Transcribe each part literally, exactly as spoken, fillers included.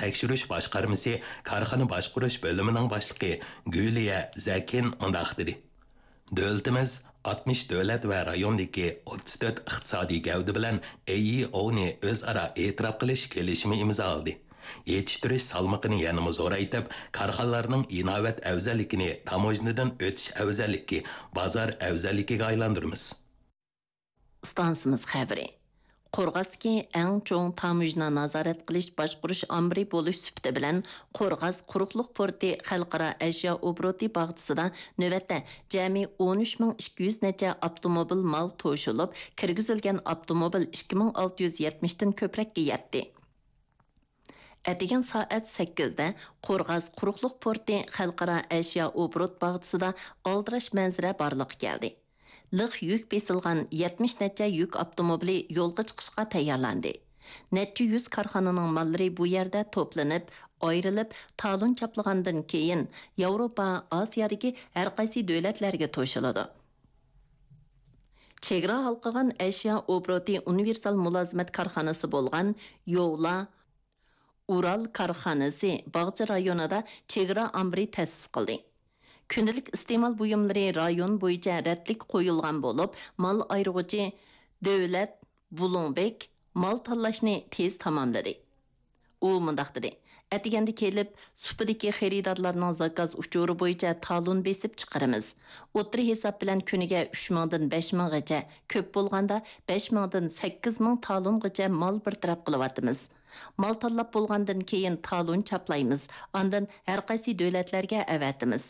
تەكشۈرۈش باشقارمىسى كارخانا باشقۇرۇش بۆلۈمىنىڭ باشلىقى گۈلىيە زەكىن مۇنداق دېدى: دۆلىتىمىز ئاتمىش دۆلەت ۋە رايوندىكى ئوتتۇز تۆت ئىقتىسادىي گەۋدە بىلەن ئەي ئى ئوۋنى ئۆزئارا ئېتىراپ قىلىش كېلىشىمى ئىمزالىدى. يېتىشتۈرۈش سالمىقىنى يەنىمۇ زورايتىپ، كارخانىلارنىڭ ئىناۋەت ئەۋزەللىكىنى تاموژنىدىن ئۆتۈش ئەۋزەللىكى، بازار ئەۋزەللىكىگە ئايلاندۇرىمىز. ئىستانسىمىز خەۋىرى. قورغاستىكى ئەڭ چوڭ تاموژنا نازارەت قىلىش باشقۇرۇش ئامبىرى بولۇش سۈپىتى بىلەن، قورغاس قۇرۇقلۇق پورتى خەلقئارا ئەشيا ئوبوروتى باغچىسىدا نۆۋەتتە جەمئىي ئون ئۈچ مىڭ ئىككى يۈز نەچچە ئاپتوموبىل مال توشۇلۇپ، كىرگۈزۈلگەن ئاپتوموبىل ئىككى مىڭ ئالتە يۈز يەتمىشتىن كۆپرەككە يەتتى. ئەتىگەن سائەت سەككىزدە قورغاس قۇرۇقلۇق پورتى خەلقئارا ئەشيا ئوبوروت باغچىسىدا ئالدىراش مەنزىرە بارلىققا كەلدى. لىق يۈك بېسىلغان يەتمىش نەچچە يۈك ئاپتوموبىلى يولغا چىقىشقا تەييارلاندى. نەچچە يۈز كارخانىنىڭ ماللىرى بۇ يەردە توپلىنىپ، ئايرىلىپ، تالون چاپلىغاندىن كېيىن، ياۋروپا، ئاسىيادىكى ھەرقايسى دۆلەتلەرگە توشۇلىدۇ. چېگرا ھالقىغان ئەشيا ئوبوروتى ئۇنىۋېرسال مۇلازىمەت كارخانىسى بولغان يوۋلا ئۇرال كارخانىسى باغچە رايونىدا چېگرا ئامبىرى تەسىس قىلدى. كۈندىلىك ئىستېمال بۇيۇملىرى رايون بويىچە رەتلىك قويۇلغان بولۇپ، مال ئايرىغۇچى دۆلەت بۇلۇڭبېك مال تاللاشنى تېز تاماملىدى. ئۇ مۇنداق دېدى: ئەتىگەندە كېلىپ، سۇپىدىكى خېرىدارلارنىڭ زاكاز ئۇچۇرى بويىچە تالون بېسىپ چىقىرىمىز. ئوتتۇرا ھېساب بىلەن كۈنىگە ئۈچ مىڭدىن بەش مىڭغىچە، كۆپ بولغاندا بەش مىڭدىن سەككىز مىڭ تالونغىچە مال بىر تەرەپ قىلىۋاتىمىز. مال تاللاپ بولغاندىن كېيىن تالون چاپلايمىز، ئاندىن ھەرقايسى دۆلەتلەرگە ئەۋەتىمىز.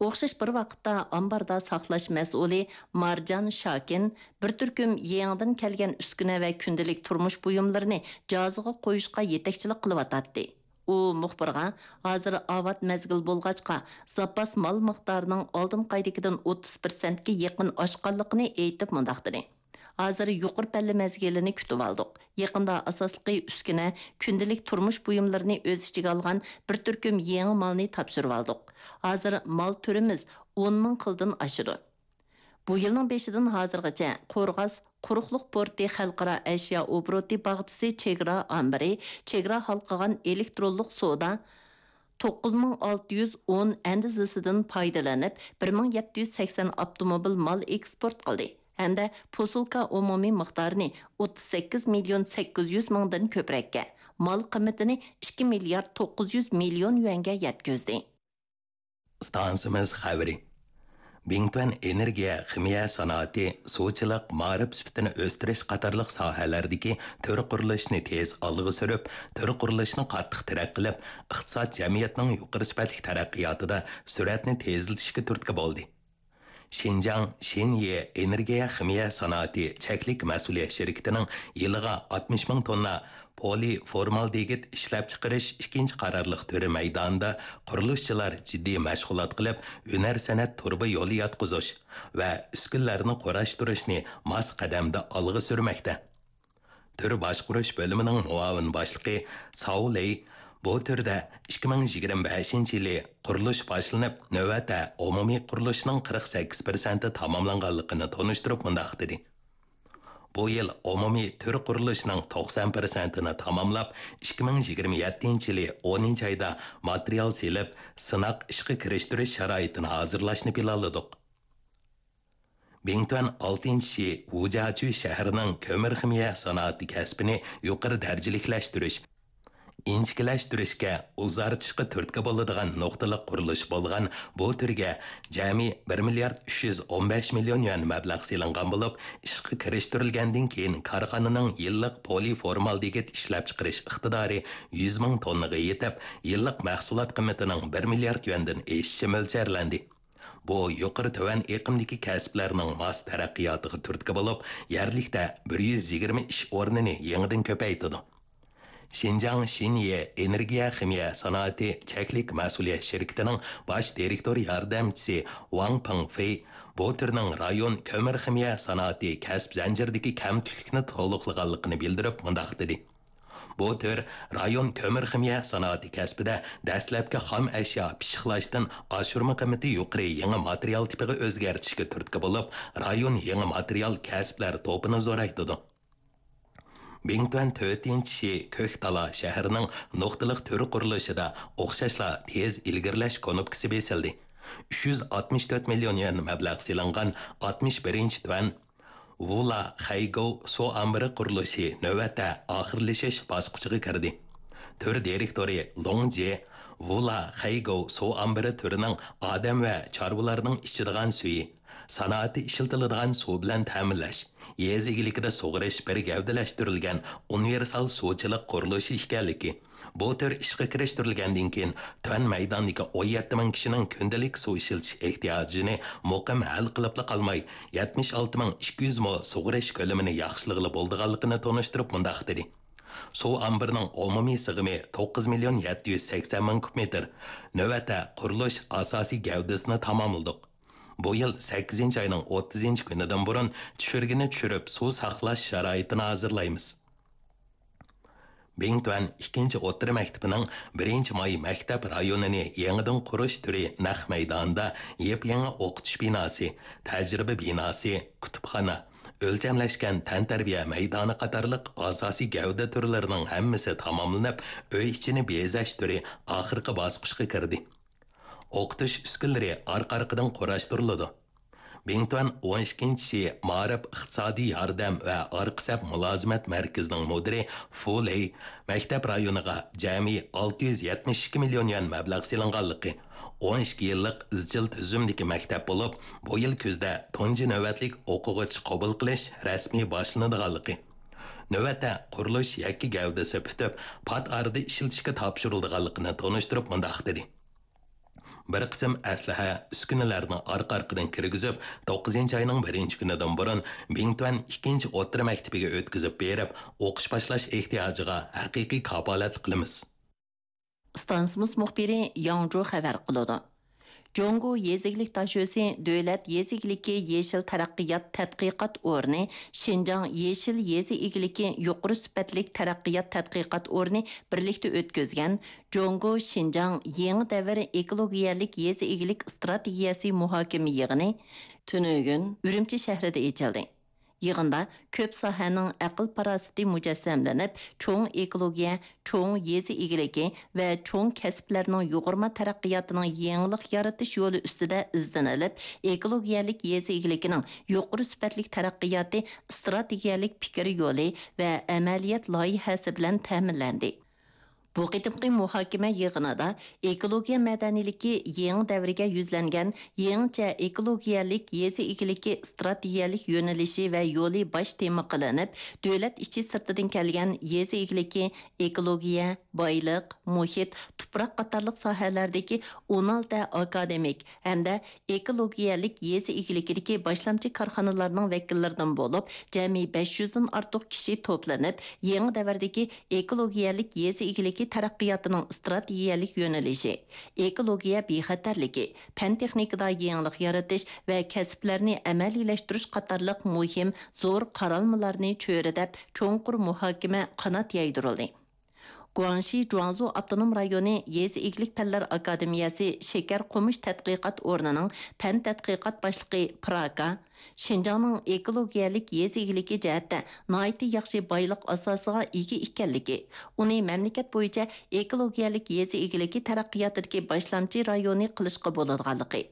ئوخشاش بىر ۋاقىتتا ئامباردا ساقلاش مەسئۇلى مارجان شاكىن بىر تۈركۈم يېڭىدىن كەلگەن ئۈسكۈنە ۋە كۈندىلىك تۇرمۇش بۇيۇملىرىنى جازىغا قويۇشقا يېتەكچىلىك قىلىۋاتاتتى. ئۇ مۇخبىرغا ھازىر ئاۋات مەزگىل بولغاچقا، زاپاس مال مىقدارىنىڭ ئالدىنقى ئايدىكىدىن ئوتتۇز پىرسەنتكە يېقىن ئاشقانلىقىنى ئېيتىپ مۇنداق دېدى: ھازىر يۇقىرى پەللە مەزگىلىنى كۈتۈۋالدۇق. يېقىندا ئاساسلىقى ئۈسكۈنە، كۈندىلىك تۇرمۇش بۇيۇملىرىنى ئۆز ئىچىگە ئالغان بىر تۈركۈم يېڭى مالنى تاپشۇرۇۋالدۇق. ھازىر مال تۈرىمىز ئون مىڭ خىلدىن ئاشىدۇ. بۇ يىلنىڭ بېشىدىن ھازىرغىچە قورغاس قۇرۇقلۇق پورتى خەلقئارا ئەشيا ئوبوروتى باغچىسى چېگرا ئامبىرى چېگرا ھالقىغان ئېلېكترونلۇق سودا توققۇز مىڭ ئالتە يۈز ئون ئەندىزىسىدىن پايدىلىنىپ، بىر مىڭ يەتتە يۈز سەكسەن ئاپتوموبىل مال ئېكسپورت قىلدى ھەمدە پوسۇلكا ئومۇمىي مىقدارىنى ئوتتۇز سەككىز مىليون سەككىز يۈز مىڭدىن كۆپرەككە، مال قىممىتىنى ئىككى مىليارد توققۇز يۈز مىليون يۈەنگە يەتكۈزدى. ئىستانسىمىز خەۋىرى. بىڭتۈەن ئېنېرگىيە خىمىيە سانائىتى، سۇچىلىق، مائارىپ سۈپىتىنى ئۆستۈرۈش قاتارلىق ساھەلەردىكى تۈر قۇرۇلۇشنى تېز ئالغا سۈرۈپ، تۈر قۇرۇلۇشنى قاتتىق تەرەققىي قىلىپ، ئىقتىساد، جەمئىيەتنىڭ يۇقىرى سۈپەتلىك تەرەققىياتىدا سۈرئەتنى تېزلىتىشكە تۈرتكە بولدى. شىنجاڭ شىنيې ئېنېرگىيە خىمىيە سانائىتى چەكلىك مەسئۇلىيەت شىركىتىنىڭ يىلىغا ئاتمىش مىڭ توننا پولىفورمالدېگىد ئىشلەپچىقىرىش ئىككىنچى قارارلىق تۈرى مەيدانىدا قۇرۇلۇشچىلار جىددىي مەشغۇلات قىلىپ، ھۈنەر سەنئەت تۇرۇبا يولى ياتقۇزۇش ۋە ئۈسكۈنىلەرنى قۇراشتۇرۇشنى ماس قەدەمدە ئالغا سۈرمەكتە. تۈر باشقۇرۇش بۆلۈمىنىڭ مۇئاۋىن باشلىقى ساۋ لېي بۇ تۈردە ئىككى مىڭ يىگىرمە بەشىنچى يىلى قۇرۇلۇش باشلىنىپ، نۆۋەتتە ئومۇمىي قۇرۇلۇشنىڭ قىرىق سەككىز پىرسەنتى تاماملانغانلىقىنى تونۇشتۇرۇپ مۇنداق دېدى: بۇ يىل ئومۇمىي تۈر قۇرۇلۇشىنىڭ توقسان پىرسەنتىنى تاماملاپ، ئىككى مىڭ يىگىرمە يەتتىنچى يىلى ئونىنچى ئايدا ماتېرىيال سېلىپ، سىناق ئىشقا كىرىشتۈرۈش شارائىتىنى ھازىرلاشنى پىلانلىدۇق. بىڭتۈەن ئالتىنچى شى ۋۇجياچۈ شەھىرىنىڭ كۆمۈر خىمىيە سانائىتى كەسپىنى يۇقىرى دەرىجىلىكلەشتۈرۈش، ئىنچىكىلەشتۈرۈشكە، ئۇزارتىشقا تۈرتكە بولىدىغان نۇقتىلىق قۇرۇلۇش بولغان بۇ تۈرگە جەمئىي بىر مىليارد ئۈچ يۈز ئون بەش مىليون يۈەن مەبلەغ سېلىنغان بولۇپ، ئىشقا كىرىشتۈرۈلگەندىن كېيىن كارخانىنىڭ يىللىق پولىفورمالدېگىد ئىشلەپچىقىرىش ئىقتىدارى يۈز مىڭ توننىغا يېتىپ، يىللىق مەھسۇلات قىممىتىنىڭ بىر مىليارد يۈەندىن ئېشىشى مۆلچەرلەندى. بۇ يۇقىرى تۆۋەن ئېقىمدىكى كەسىپلەرنىڭ ماس تەرەققىياتىغا تۈرتكە بولۇپ، يەرلىكتە بىر يۈز يىگىرمە ئىش ئورنىنى يېڭىدىن كۆپەيتىدۇ. شىنجاڭ شىنيې ئېنېرگىيە خىمىيە سانائىتى چەكلىك مەسئۇلىيەت شىركىتىنىڭ باش دىرېكتور ياردەمچىسى ۋاڭ پېڭفېي بۇ تۈرنىڭ رايون كۆمۈر خىمىيە سانائىتى كەسىپ زەنجىرىدىكى كەمتۈكلۈكنى تولۇقلىغانلىقىنى بىلدۈرۈپ مۇنداق دېدى: بۇ تۈر رايون كۆمۈر خىمىيە سانائىتى كەسپىدە دەسلەپكى خام ئەشيا پىششىقلاشتىن ئاشۇرما قىممىتى يۇقىرى يېڭى ماتېرىيال تىپىغا ئۆزگەرتىشكە تۈرتكە بولۇپ، رايون يېڭى ماتېرىيال كەسىپلەر توپىنى زورايتىدۇ. بىڭتۈەن تۆتىنچى شى كۆكتالا شەھىرىنىڭ نۇقتىلىق تۈر قۇرۇلۇشىدا ئوخشاشلا تېز ئىلگىرىلەش كۇنۇپكىسى بېسىلدى. ئۈچ يۈز ئاتمىش تۆت مىليون يۈەن مەبلەغ سېلىنغان ئاتمىش بىرىنچى تۈەن ۋۇلا خەيگوۋ سۇ ئامبىرى قۇرۇلۇشى نۆۋەتتە ئاخىرلىشىش باسقۇچىغا كىردى. تۈر دىرېكتورى لوڭ جې ۋۇلا خەيگوۋ سۇ ئامبىرى تۈرىنىڭ ئادەم ۋە چارۋىلارنىڭ ئىچىدىغان سۈيى، سانائەتتە ئىشلىتىلىدىغان سۇ بىلەن تەمىنلەش، يېزا ئىگىلىكىدە سۇغىرىش بىر گەۋدىلەشتۈرۈلگەن ئۇنىۋېرسال سۇچىلىق قۇرۇلۇشى ئىكەنلىكى، بۇ تۈر ئىشقا كىرىشتۈرۈلگەندىن كېيىن، تۆۋەن مەيداندىكى ئون يەتتە مىڭ كىشىنىڭ كۈندىلىك سۇ ئىشلىتىش ئېھتىياجىنى مۇقىم ھەل قىلىپلا قالماي، يەتمىش ئالتە مىڭ ئىككى يۈز مو سۇغىرىش كۆلىمىنى ياخشىلىغىلى بولىدىغانلىقىنى تونۇشتۇرۇپ مۇنداق دېدى: سۇ ئامبىرىنىڭ ئومۇمىي سىغىمى توققۇز مىليون يەتتە يۈز سەكسەن مىڭ كۇب مېتىر. نۆۋەتتە قۇرۇلۇش ئاساسىي گەۋدىسىنى تاماملىدۇق. بۇ يىل سەككىزىنچى ئاينىڭ ئوتتۇزىنچى كۈنىدىن بۇرۇن چۈشۈرگىنى چۈشۈرۈپ، سۇ ساقلاش شارائىتىنى ھازىرلايمىز. بىڭتۈەن ئىككىنچى ئوتتۇرا مەكتىپىنىڭ بىرىنچى ماي مەكتەپ رايونىنى يېڭىدىن قۇرۇش تۈرى نەق مەيدانىدا يېپيېڭى ئوقۇتۇش بىناسى، تەجرىبە بىناسى، كۇتۇپخانا، ئۆلچەملەشكەن تەنتەربىيە مەيدانى قاتارلىق ئاساسىي گەۋدە تۈرلىرىنىڭ ھەممىسى تاماملىنىپ، ئۆي ئىچىنى بېزەش تۈرى ئاخىرقى باسقۇچقا كىردى. ئوقۇتۇش ئۈسكۈنىلىرى ئارقا-ئارقىدىن قۇراشتۇرۇلىدۇ. بىڭتۈەن ئون ئىككىنچى شى مائارىپ ئىقتىسادىي ياردەم ۋە ئارقا سەپ مۇلازىمەت مەركىزىنىڭ مۇدىرى فۇ لېي مەكتەپ رايونىغا جەمئىي ئالتە يۈز يەتمىش ئىككى مىليون يۈەن مەبلەغ سېلىنغانلىقى، ئون ئىككى يىللىق ئىزچىل تۈزۈمدىكى مەكتەپ بولۇپ، بۇ يىل كۈزدە تۇنجى نۆۋەتلىك ئوقۇغۇچى قوبۇل قىلىش رەسمىي باشلىنىدىغانلىقى، نۆۋەتتە قۇرۇلۇش يەككە گەۋدىسى پۈتۈپ، پات ئارىدا ئىشلىتىشكە تاپشۇرۇلىدىغانلىقىنى تونۇشتۇرۇپ مۇنداق دېدى: بىر قىسىم ئەسلىھە، ئۈسكۈنىلەرنى ئارقا-ئارقىدىن كىرگۈزۈپ، توققۇزىنچى ئاينىڭ بىرىنچى كۈنىدىن بۇرۇن بىڭتۈەن ئىككىنچى ئوتتۇرا مەكتىپىگە ئۆتكۈزۈپ بېرىپ، ئوقۇش باشلاش ئېھتىياجىغا ھەقىقىي كاپالەتلىك قىلىمىز. ئىستانسىمىز مۇخبىرى ياڭجۇ خەۋەر قىلىدۇ. جۇڭگو يېزا ئىگىلىك داشۆسى دۆلەت يېزا ئىگىلىكى يېشىل تەرەققىيات تەتقىقات ئورنى، شىنجاڭ يېشىل يېزا ئىگىلىكى يۇقىرى سۈپەتلىك تەرەققىيات تەتقىقات ئورنى بىرلىكتە ئۆتكۈزگەن جۇڭگو شىنجاڭ يېڭى دەۋر ئېكولوگىيەلىك يېزا ئىگىلىك ئىستراتېگىيەسى مۇھاكىمە يىغىنى تۈنۈگۈن ئۈرۈمچى شەھىرىدە ئېچىلدى. يىغىندا كۆپ ساھەنىڭ ئەقىل-پاراسىتى مۇجەسسەملىنىپ، چوڭ ئېكولوگىيە، چوڭ يېزا ئىگىلىكى ۋە چوڭ كەسىپلەرنىڭ يۇغۇرما تەرەققىياتىنىڭ يېڭىلىق يارىتىش يولى ئۈستىدە ئىزدىنىلىپ، ئېكولوگىيەلىك يېزا ئىگىلىكىنىڭ يۇقىرى سۈپەتلىك تەرەققىياتى ئىستراتېگىيەلىك پىكىر يولى ۋە ئەمەلىيەت لايىھەسى بىلەن تەمىنلەندى. بۇ قېتىمقى مۇھاكىمە يىغىنىدا ئېكولوگىيە مەدەنىيلىكى يېڭى دەۋرگە يۈزلەنگەن يېڭىچە ئېكولوگىيەلىك يېزا ئىگىلىكى ئىستراتېگىيەلىك يۆنىلىشى ۋە يولى باش تېما قىلىنىپ، دۆلەت ئىچى سىرتىدىن كەلگەن يېزا ئىگىلىكى، ئېكولوگىيە، بايلىق، مۇھىت، تۇپراق قاتارلىق ساھەلەردىكى ئون ئالتە ئاكادېمىك ھەمدە ئېكولوگىيەلىك يېزا ئىگىلىكىدىكى باشلامچى كارخانىلارنىڭ ۋەكىللىرىدىن بولۇپ، جەمئىي بەش يۈزدىن ئارتۇق كىشى توپلىنىپ، يېڭى دەۋردىكى ئېكولوگىيەلىك يېزا ئىگىلىكى تەرەققىياتىنىڭ ئىستراتېگىيەلىك يۆنىلىشى، ئېكولوگىيە بىخەتەرلىكى، پەن-تېخنىكىدا يېڭىلىق يارىتىش ۋە كەسىپلەرنى ئەمەلىيلەشتۈرۈش قاتارلىق مۇھىم زور قارالمىلارنى چۆرىدەپ، چوڭقۇر مۇھاكىمە قانات يايدۇرۇلدى. گۇاڭشى جۇاڭزۇ ئاپتونوم رايونى يېزا ئىگىلىك پەنلەر ئاكادېمىيەسى شېكەر قومۇش تەتقىقات ئورنىنىڭ پەن تەتقىقات باشلىقى پىراكا، شىنجاڭنىڭ ئېكولوگىيەلىك يېزا ئىگىلىكى جەھەتتە ناھايىتى ياخشى بايلىق ئاساسىغا ئىگە ئىكەنلىكى، ئۇنى مەملىكەت بويىچە ئېكولوگىيەلىك يېزا ئىگىلىكى تەرەققىياتىدىكى باشلامچى رايونى قىلىشقا بولىدىغانلىقى،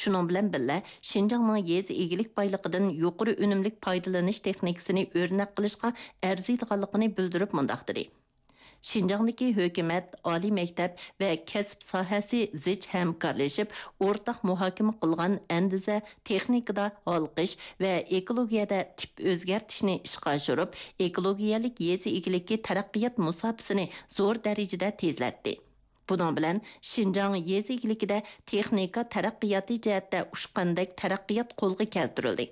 شۇنىڭ بىلەن بىللە، شىنجاڭنىڭ يېزا ئىگىلىك بايلىقىدىن يۇقىرى ئۈنۈملۈك پايدىلىنىش تېخنىكىسىنى ئۆرنەك قىلىشقا ئەرزىيدىغانلىقىنى بىلدۈرۈپ مۇنداق دېدى: شىنجاڭدىكى ھۆكۈمەت، ئالىي مەكتەپ ۋە كەسىپ ساھەسى زىچ ھەمكارلىشىپ، ئورتاق مۇھاكىمە قىلغان ئەندىزە، تېخنىكىدا ھالقىش ۋە ئېكولوگىيەدە تىپ ئۆزگەرتىشنى ئىشقا ئاشۇرۇپ، ئېكولوگىيەلىك يېزا ئىگىلىكى تەرەققىيات مۇساپىسىنى زور دەرىجىدە تېزلەتتى. بۇنىڭ بىلەن شىنجاڭ يېزا ئىگىلىكىدە تېخنىكا تەرەققىياتى جەھەتتە ئۇچقاندەك تەرەققىيات قولغا كەلتۈرۈلدى.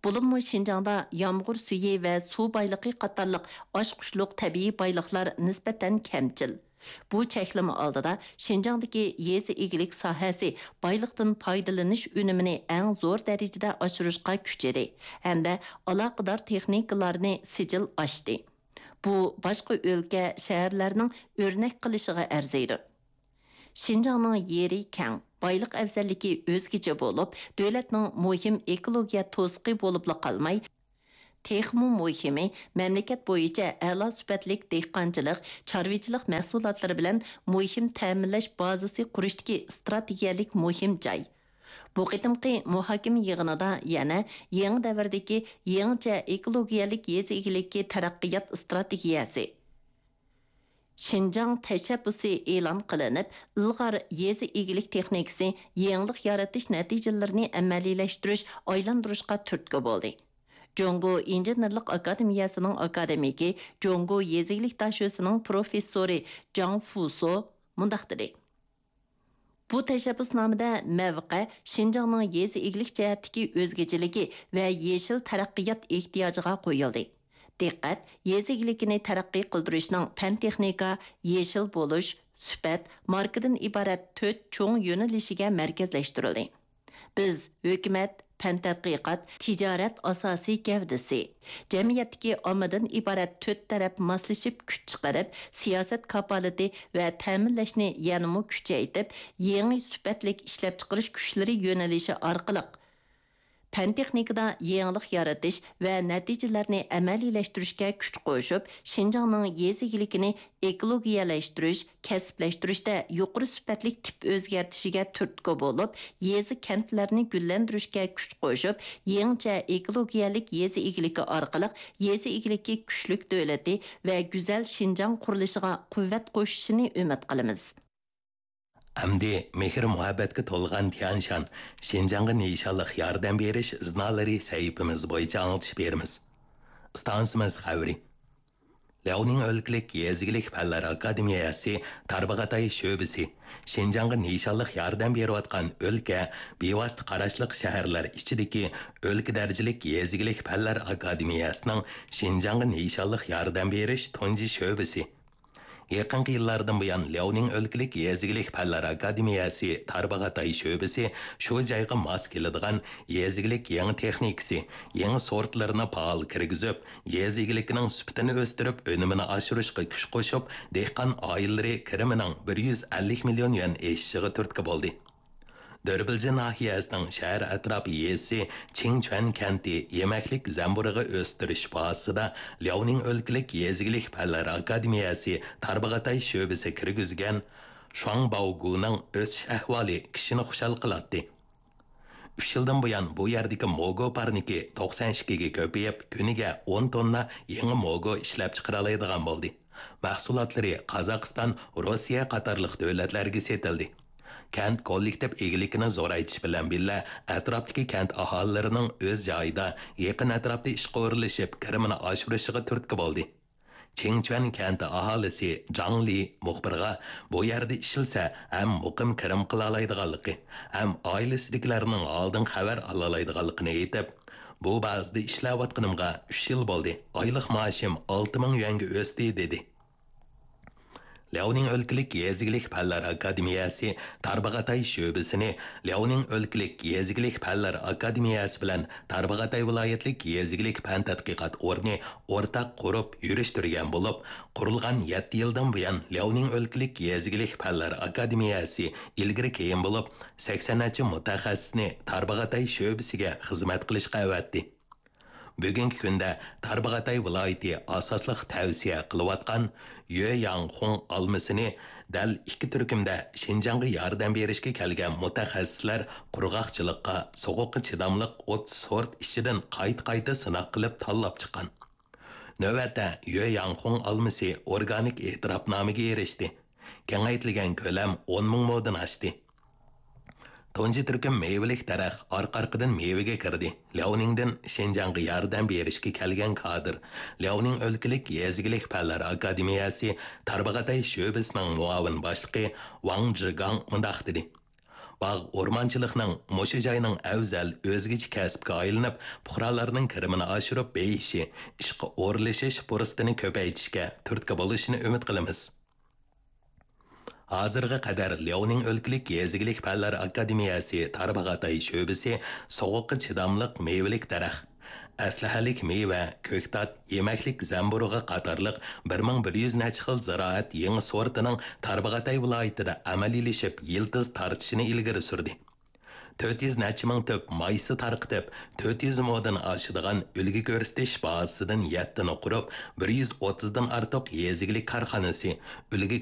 بولۇپمۇ شىنجاڭدا يامغۇر سۈيى ۋە سۇ بايلىقى قاتارلىق ئاچقۇچلۇق تەبىئىي بايلىقلار نىسبەتەن كەمچىل. بۇ چەكلىمە ئالدىدا شىنجاڭدىكى يېزا ئىگىلىك ساھەسى بايلىقتىن پايدىلىنىش ئۈنۈمىنى ئەڭ زور دەرىجىدە ئاشۇرۇشقا كۈچىدى ھەمدە ئالاقىدار تېخنىكىلارنى سىجىل ئاشتى. بۇ باشقا ئۆلكە، شەھەرلەرنىڭ ئۆرنەك قىلىشىغا ئەرزىيدۇ. شىنجاڭنىڭ يېرى كەڭ، بايلىق ئەۋزەللىكى ئۆزگىچە بولۇپ، دۆلەتنىڭ مۇھىم ئېكولوگىيە توسۇقى بولۇپلا قالماي، تېخىمۇ مۇھىمى، مەملىكەت بويىچە ئەلا سۈپەتلىك دېھقانچىلىق، چارۋىچىلىق مەھسۇلاتلىرى بىلەن مۇھىم تەمىنلەش بازىسى قۇرۇشتىكى ئىستراتېگىيەلىك مۇھىم جاي. بۇ قېتىمقى مۇھاكىمە يىغىنىدا يەنە يېڭى دەۋردىكى يېڭىچە ئېكولوگىيەلىك يېزا ئىگىلىكى تەرەققىيات ئىستراتېگىيەسى، شىنجاڭ تەشەببۇسى ئېلان قىلىنىپ، ئىلغار يېزا ئىگىلىك تېخنىكىسى يېڭىلىق يارىتىش نەتىجىلىرىنى ئەمەلىيلەشتۈرۈش، ئايلاندۇرۇشقا تۈرتكە بولدى. جۇڭگو ئىنژېنېرلىق ئاكادېمىيەسىنىڭ ئاكادېمىكى، جۇڭگو يېزا ئىگىلىك داشۆسىنىڭ پروفېسسورى جاڭ فۇسو مۇنداق دېدى: بۇ تەشەببۇسنامىدە مەۋقە شىنجاڭنىڭ يېزا ئىگىلىك جەھەتتىكى ئۆزگىچىلىكى ۋە يېشىل تەرەققىيات ئېھتىياجىغا قويۇلدى. دىققەت يېزا ئىگىلىكىنى تەرەققىي قىلدۇرۇشنىڭ پەن-تېخنىكا، يېشىل بولۇش، سۈپەت، ماركىدىن ئىبارەت تۆت چوڭ يۆنىلىشىگە مەركەزلەشتۈرۈلدى. بىز ھۆكۈمەت، پەن-تەتقىقات، تىجارەت ئاساسىي گەۋدىسى، جەمئىيەتتىكى ئاممىدىن ئىبارەت تۆت تەرەپ ماسلىشىپ كۈچ چىقىرىپ، سىياسەت كاپالىتى ۋە تەمىنلەشنى يەنىمۇ كۈچەيتىپ، يېڭى سۈپەتلىك ئىشلەپچىقىرىش كۈچلىرى يۆنىلىشى ئارقىلىق، پەن-تېخنىكىدا يېڭىلىق يارىتىش ۋە نەتىجىلەرنى ئەمەلىيلەشتۈرۈشكە كۈچ قوشۇپ، شىنجاڭنىڭ يېزا ئىگىلىكىنى ئېكولوگىيەلەشتۈرۈش، كەسىپلەشتۈرۈشتە يۇقىرى سۈپەتلىك تىپ ئۆزگەرتىشىگە تۈرتكە بولۇپ، يېزا، كەنتلەرنى گۈللەندۈرۈشكە كۈچ قوشۇپ، يېڭىچە ئېكولوگىيەلىك يېزا ئىگىلىكى ئارقىلىق يېزا ئىگىلىكى كۈچلۈك دۆلىتى ۋە گۈزەل شىنجاڭ قۇرۇلۇشىغا قۇۋۋەت قوشۇشىنى ئۈمىد قىلىمىز. ئەمدى مېھىر-مۇھەببەتكە تولغان تيەنشان، شىنجاڭغا نىشانلىق ياردەم بېرىش ئىزنالىرى سەھىپىمىز بويىچە ئاڭلىتىش بېرىمىز. ئىستانسىمىز خەۋىرى. لياۋنىڭ ئۆلكىلىك يېزا ئىگىلىك پەنلەر ئاكادېمىيەسى تارباغاتاي شۆبىسى شىنجاڭغا نىشانلىق ياردەم بېرىۋاتقان ئۆلكە، بىۋاسىتە قاراشلىق شەھەرلەر ئىچىدىكى ئۆلكە دەرىجىلىك يېزا ئىگىلىك پەنلەر ئاكادېمىيەسىنىڭ شىنجاڭغا نىشانلىق ياردەم بېرىش تۇنجى شۆبىسى. يېقىنقى يىللاردىن بۇيان، لياۋنىڭ ئۆلكىلىك يېزا ئىگىلىك پەنلەر ئاكادېمىيەسى تارباغاتاي شۆبىسى شۇ جايغا ماس كېلىدىغان يېزا ئىگىلىك يېڭى تېخنىكىسى، يېڭى سورتلىرىنى پائال كىرگۈزۈپ، يېزا ئىگىلىكىنىڭ سۈپىتىنى ئۆستۈرۈپ، ئۈنۈمىنى ئاشۇرۇشقا كۈچ قوشۇپ، دېھقان ئائىلىلىرى كىرىمىنىڭ بىر يۈز ئەللىك مىليون يۈەن ئېشىشىغا تۈرتكە بولدى. دۆربىلجى ناھىيەسىنىڭ شەھەر ئەتراپى يېزىسى چىڭچۈەن كەنتى يېمەكلىك زەمبۇرۇغى ئۆستۈرۈش بازىسىدا لياۋنىڭ ئۆلكىلىك يېزا ئىگىلىك پەنلەر ئاكادېمىيەسى تارباغاتاي شۆبىسى كىرگۈزگەن شۇاڭ باۋگۇنىڭ ئۆسۈش ئەھۋالى كىشىنى خۇشال قىلاتتى. ئۈچ يىلدىن بۇيان بۇ يەردىكى موگو پارنىكى توقسان ئىككىگە كۆپىيىپ، كۈنىگە ئون توننا يېڭى موگو ئىشلەپچىقىرالايدىغان بولدى. مەھسۇلاتلىرى قازاقىستان، روسىيە قاتارلىق دۆلەتلەرگە سېتىلدى. كەنت كوللېكتىپ ئىگىلىكىنى زورايتىش بىلەن بىللە، ئەتراپتىكى كەنت ئاھالىلىرىنىڭ ئۆز جايىدا، يېقىن ئەتراپتا ئىشقا ئورۇنلىشىپ، كىرىمىنى ئاشۇرۇشىغا تۈرتكە بولدى. چىڭچۈەن كەنتى ئاھالىسى جاڭ لى مۇخبىرغا بۇ يەردە ئىشلىسە، ھەم مۇقىم كىرىم قىلالايدىغانلىقى، ھەم ئائىلىسىدىكىلەرنىڭ ھالىدىن خەۋەر ئالالايدىغانلىقىنى ئېيتىپ، بۇ بازىدا ئىشلەۋاتقىنىمغا ئۈچ يىل بولدى، ئايلىق مائاشىم ئالتە مىڭ يۈەنگە ئۆستى، دېدى. لياۋنىڭ ئۆلكىلىك يېزا ئىگىلىك پەنلەر ئاكادېمىيەسى تارباغاتاي شۆبىسىنى لياۋنىڭ ئۆلكىلىك يېزا ئىگىلىك پەنلەر ئاكادېمىيەسى بىلەن تارباغاتاي ۋىلايەتلىك يېزا ئىگىلىك پەن تەتقىقات ئورنى ئورتاق قۇرۇپ يۈرۈشتۈرگەن بولۇپ، قۇرۇلغان يەتتە يىلدىن بۇيان لياۋنىڭ ئۆلكىلىك يېزا ئىگىلىك پەنلەر ئاكادېمىيەسى ئىلگىرى كېيىن بولۇپ، سەكسەن نەچچە مۇتەخەسسىسنى تارباغاتاي شۆبىسىگە خىزمەت قىلىشقا ئەۋەتتى. بۈگۈنكى كۈندە تارباغاتاي ۋىلايىتى ئاساسلىق تەۋسىيە قىلىۋاتقان يۆ ياڭخۇڭ ئالمىسىنى دەل ئىككى تۈركۈمدە شىنجاڭغا ياردەم بېرىشكە كەلگەن مۇتەخەسسىسلەر قۇرغاقچىلىققا، سوغۇققا چىداملىق ئوتتۇز سورت ئىچىدىن قايتا-قايتا سىناق قىلىپ تاللاپ چىققان. نۆۋەتتە يۆ ياڭخۇڭ ئالمىسى ئورگانىك ئېتىراپنامىگە ئېرىشتى. كېڭەيتىلگەن كۆلەم ئون مىڭ مودىن ئاشتى. تۇنجى تۈركۈم مېۋىلىك دەرەخ ئارقا-ئارقىدىن مېۋىگە كىردى. لياۋنىڭدىن شىنجاڭغا ياردەم بېرىشكە كەلگەن كادىر، لياۋنىڭ ئۆلكىلىك يېزا ئىگىلىك پەنلەر ئاكادېمىيەسى تارباغاتاي شۆبىسىنىڭ مۇئاۋىن باشلىقى ۋاڭ جىگاڭ مۇنداق دېدى: باغ ئورمانچىلىقنىڭ مۇشۇ جاينىڭ ئەۋزەل، ئۆزگىچە كەسىپكە ئايلىنىپ، پۇقرالارنىڭ كىرىمىنى ئاشۇرۇپ بېيىشى، ئىشقا ئورۇنلىشىش پۇرسىتىنى كۆپەيتىشكە تۈرتكە بولۇشىنى ئۈمىد قىلىمىز. ھازىرغا قەدەر لياۋنىڭ ئۆلكىلىك يېزا ئىگىلىك پەنلەر ئاكادېمىيەسى تارباغاتاي شۆبىسى سوغۇققا چىداملىق مېۋىلىك دەرەخ، ئەسلىھەلىك مېۋە، كۆكتات، يېمەكلىك زەمبۇرۇغى قاتارلىق بىر مىڭ بىر يۈز نەچچە خىل زىرائەت يېڭى سورتىنىڭ تارباغاتاي ۋىلايىتىدە ئەمەلىيلىشىپ يىلتىز تارتىشىنى ئىلگىرى سۈردى. تۆت يۈز نەچچە مىڭ تۈپ مايسا تارقىتىپ، تۆت يۈز مودىن ئاشىدىغان ئۈلگە كۆرسىتىش بازىسىدىن يەتتىنى قۇرۇپ، بىر يۈز ئوتتۇزدىن ئارتۇق يېزا ئىگىلىك كارخانىسى، ئۈلگە